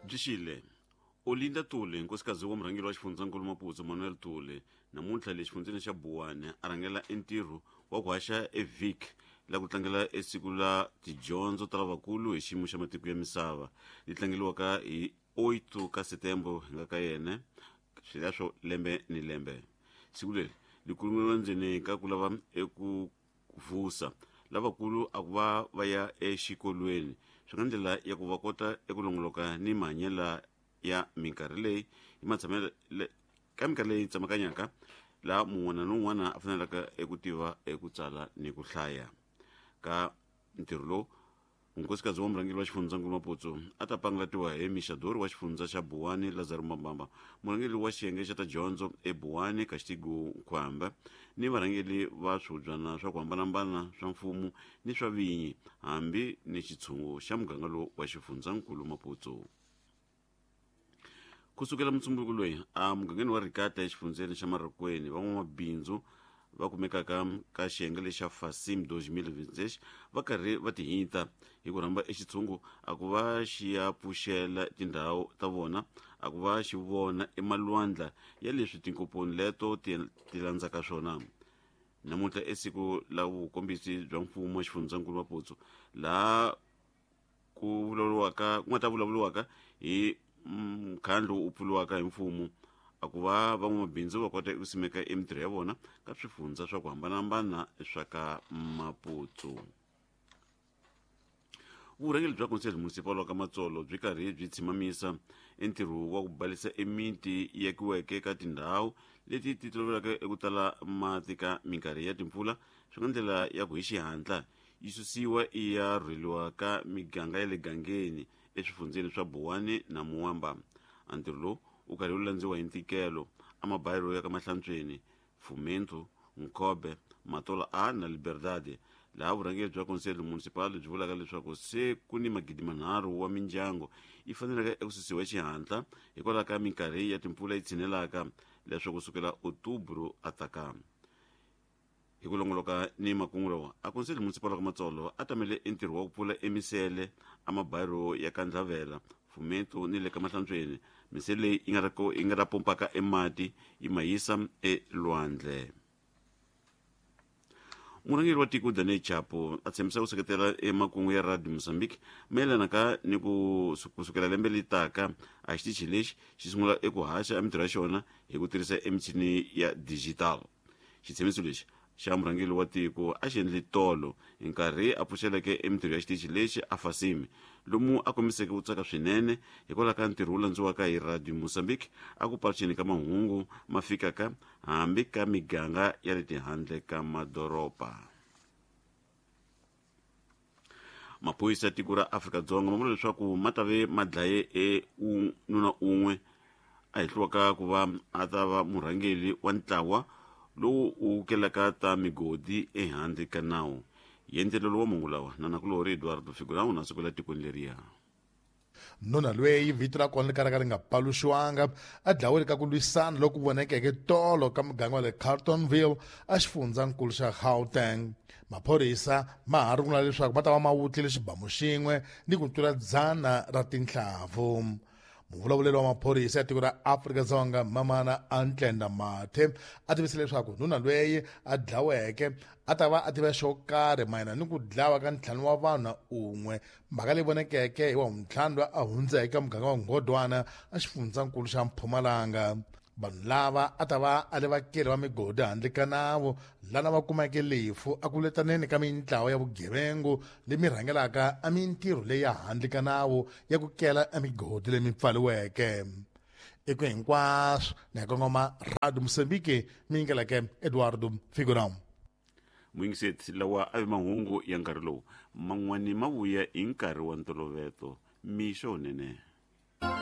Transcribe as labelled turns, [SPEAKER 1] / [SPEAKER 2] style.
[SPEAKER 1] Byi xile Olinda Tuli, nkosikazi wa murhangeri wa xifundzankulu Maputo Manuel Tuli, namuntlha le xifundzeni xa Buwani a rhangela entirho wa ku haxa eVic la ku tlangela esiku la tidyondzo ta lavakulu hi xiyimo xa matiko ya misava li tlangeliwaka hi 8 ka Setembro hi nga ka yena swileswo lembe ni lembe. Siku leri li kulumeliwa ndzeni ka ku lava eku vusa lavakulu a ku va va ya exikolweni swi nga ndlela ya ku va kota eku longoloka ni mahanyela ya minkarhi leyi hi matshamelo ka minkarhi leyi tsemakanyaka laha mun'wana ni un'wana a fanelaka eku tiva eku tsala ni ku hlaya ka ntirho lowu. Nkosikazi wa murhangeri wa xifundzankulu Maputsu a ta pangalatiwa hi mixadori wa xifundza xa Buwani Lazaro Mambamba, murhangeri wa xiyenge xa ta dyondzo eBuwani Castigo Nkhwamba ni varhangeri va swihubyana swa ku hambanahambana swa mfumo ni swa vinyi hambi ni xitshungu xa muganga lowu wa xifundzankulu Maputsu. Ku sukela mutsumbuko loyi a mugangeni wa Rikata exifundzeni xa Marokweni, van'wamabindzu va kumekaka ka xiyenge lexa Fasim 2026 va karhi va tihinta hi ku rhamba exitshungu a ku va xi ya pfuxela tindhawu ta vona a ku va xi vona emalwandla ya leswi tinkomponi leto ti ti landzaka swona. Namuntlha i siku la vukombisi bya mfumo exifundzankulu Maputsu laha ku vulavuriwaka ku nga ta vulavuriwaka hi mukhandlu wu pfuriwaka hi mfumo a ku va van'wamabindzu va kota ku simeka emitirho ya vona ka swifundza swa ku hambanahambana swa ka Maputsu. Vurhangeri bya Conselho Municipal wa ka Matsolo byi karhi byi tshimamisa entirho wa ku balisa emiti yi akiweke ka tindhawu leti ti tolovelaka eku tala mati ka minkarhi ya timpfula swi nga ndlela ya ku hi xihatla yi susiwa yi ya rhweliwa ka miganga ya le gangeni eswifundzeni swa Buwani na Muwamba. A ntirho lowu wu karhi wu landziwa hi ntikelo amabayiro ya ka Mahlantsweni, Fumento, Nkobe, Matola A na Liberdade, laha vurhangeri bya Conselho Municipal byi vulaka leswaku se ku ni magidi manharhu wa mindyangu yi faneleke eku susiwa hi xihatla hikwalaho ka minkarhi ya timpfula yi tshinelaka leswaku sukela Outubro a taka. Hi ku longoloka ni makungu lawa, a Conselho Municipal wa ka Matsolo a tamele entirho wa ku pfula emisele a mabayiro ya ka Ndlavela, Fumento ni le ka Mahlantsweni, misele leyi yi nga ta yi nga ta pompaka emati yi ma yisa elwandle. Murhangeri wa tiko Daniel Chapo a tshembisa ku seketela emakungu ya Radio Mozambique mayelana ka ni ku ku sukela lembe leri taka a xitichi lexi xi sungula eku haxa emitirho ya xona hi ku tirhisa emichini ya digital. Xitshembiso lexi xa murhangeri wa tiko a xi endle tolo hi nkarhi a pfuxeleke emitirho ya xitichi lexi a Fasimi, lomu a kombiseke ku tsaka swinene hikwalaho ka ntirho wu landziwaka hi Radio Mozambique a ku paluxeni ka mahungu ma fikaka hambi ka miganga ya le tihandle ka madoroba. Maphorisa ya tiko ra Afrika-Dzonga ma vula leswaku ma ta ve ma dlaye e nuna un'we a hehliwaka ku va a ta va murhangeri wa ntlawa lowu wu kelaka ta migodi ehandle ka nawu. Yendlelelo wa mahungu lawa na nakulorhi Eduardo Figurão na sukela tikweni leriya.
[SPEAKER 2] Nuna lweyi vito ra kona ri kalaka ri nga paluxiwanga a dlawile ka ku lwisana loku vonekeke tolo ka muganga wa le Carltonville exifundzankulu xa Gauteng. Maphorisa ma ha rungula leswaku ma ta va ma wutlile xibamu xin'we ni ku tlula dzana ra tinhlavu. Muvulavuleri wa maphorisa ya tiko ra Afrika-Dzonga Mamana Antlenda Mathe a tivise leswaku nuna lweyi a dlaweke a ta va a tiva xo karhi mayelana ni ku dlawa ka ntlhanu wa vanhu na un'we mhaka leyi vonekeke hi wa vuntlhanu loyi a hundzeke ka muganga wa Ngodwana exifundzankulu xa Mpumalanga. Vanhu lava a ta va a le vakeli va migodi handle ka nawu lana va kumeke lefu a ku letaneni ka mintlawa ya vugevengu leyi mi rhangelaka a mintirho leyi ya handle ka nawu ya ku kela emigodi leyi mi pfaliweke. Eku hinkwaswo ni ya kongoma Radio Mozambique mi yingeleke Eduardo Figurão.
[SPEAKER 1] Muyingiseti, lawa a vi mahungu ya nkarhi lowu man'wani ma vuya hi nkarhi wa ntoloveto. Mixo wunene.